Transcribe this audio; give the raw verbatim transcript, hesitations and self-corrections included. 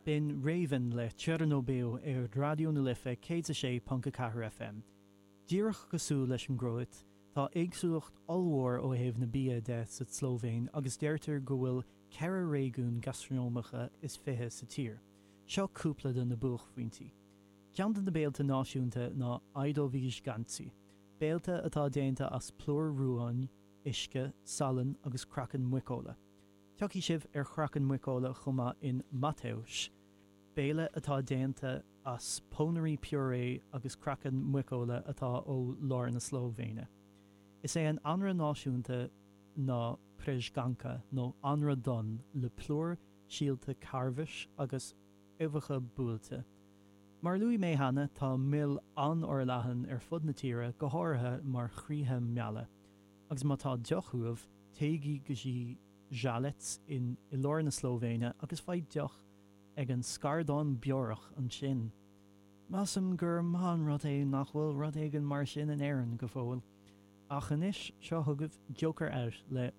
B'in Raven le Černo Belo ar Raidió na Life céad a sé ponc a ceathair FM. Díreach cosúil leis an gCróit, tá éagsúlacht ollmhór ó thaobh na bia de sa tSlóivéin agus deirtear go bhfuil ceithre réigiún gastranómacha is fiche sa tír. Seo cúpla de na buaicphointí. Ceann de na béilte náisiúnta ná Ajdovi žganci, béilte atá déanta as plúr rúin, uisce, salann agus craiceann muiceola. Tiocfaidh sibh ar chraiceann muiceola chomh maith in Matevž, béile atá déanta as pónairí purée agus craiceann muiceola atá ó lár na Slóivéine. Is é an anraith náisiúnta ná prežganka nó anraith donn le plúr síolta carbhais agus uibheacha buailte. Mar a luaigh mé cheana, tá mil an-fhorleathan ar fud na tíre, go háirithe mar chroíthe meala. Agus má tá deoch uaibh, téigí go dtí Žalec in i lár na Slóivéine agus faigh deoch ag an scardán beorach ansin. Measaim gur maith an rud é nach bhfuil rud éigin mar sin in Éirinn go fóill. Ach anois seo chugaibh Joker Out le